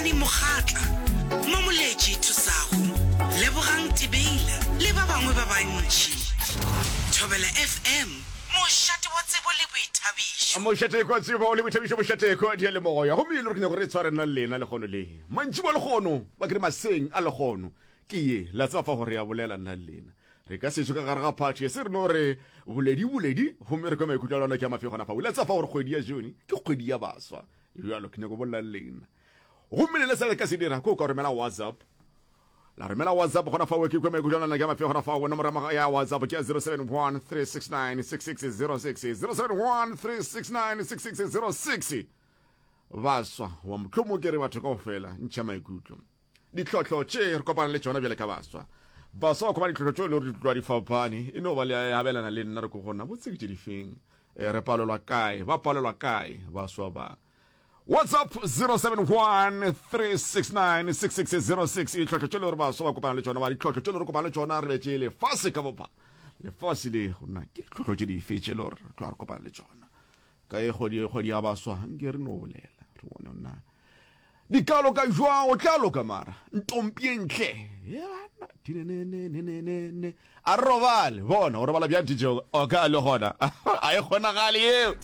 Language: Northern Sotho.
Dumisani Mokgatla, Mamoletši Thusago, Lebogang Tebeila le ba bangwe ba bantši. Thobela FM, mošate wa tsebo le boithabišo. Mošate kwa tsebo le boithabišo, mošate kwa diyalemoya. Gomme e le gore ke nyaka gore re tshware nna le lena lekgono le. Mantšiboa lekgono, ba ke re maseng a lekgono. Ke ye, la tseba fa gore ya bolela nna le lena. Re ka sešo ka gare ga phathi ye se re no re boledi boledi gomme re kwe maikutlo a lona ke a mafe gona fa. O ile a tseba fa gore kgwedi ya June ke kgwedi ya baswa. Bjalo ke nyako bolela le lena. Gomme le le se le ka se dira ke o ka romela WhatsApp. La romela WhatsApp gona fa ke kwe maikutlo a lona ke a mafe gona fa. Nomoro ya WhatsApp ke ya 071 369 6606 071 369 6606. Baswa wa mohlomong ke re batho kaofela ntšha maikutlo. Ditlhohlo tše re kopana le tšona bjale ka baswa. Baswa ba kopana ditlhohlo tšeo e le gore di tloga di fapane. E no ba le abelana le nna re ko gona botse ke tše difeng. E, re palelwa kae? Ba palelwa kae baswa ba? WhatsApp 0713696606 ditlhohlo tše le gore baswa ba kopana le tšona ba ditlhohlo tše le gore kopana le tšona re betše lefase ka bophara lefase le gona ke ditlhohlo tše dife tše le gore re tloga re kopana le tšona ka e kgwedi kgwedi ya baswa nke re no bolela re bone na Di ka loka jwang? O tla loka mara. Ntompie ntle. Ye banna. A re robale. Bona, o robala bjang DJ o ka le gona. A e kgonagale yeo.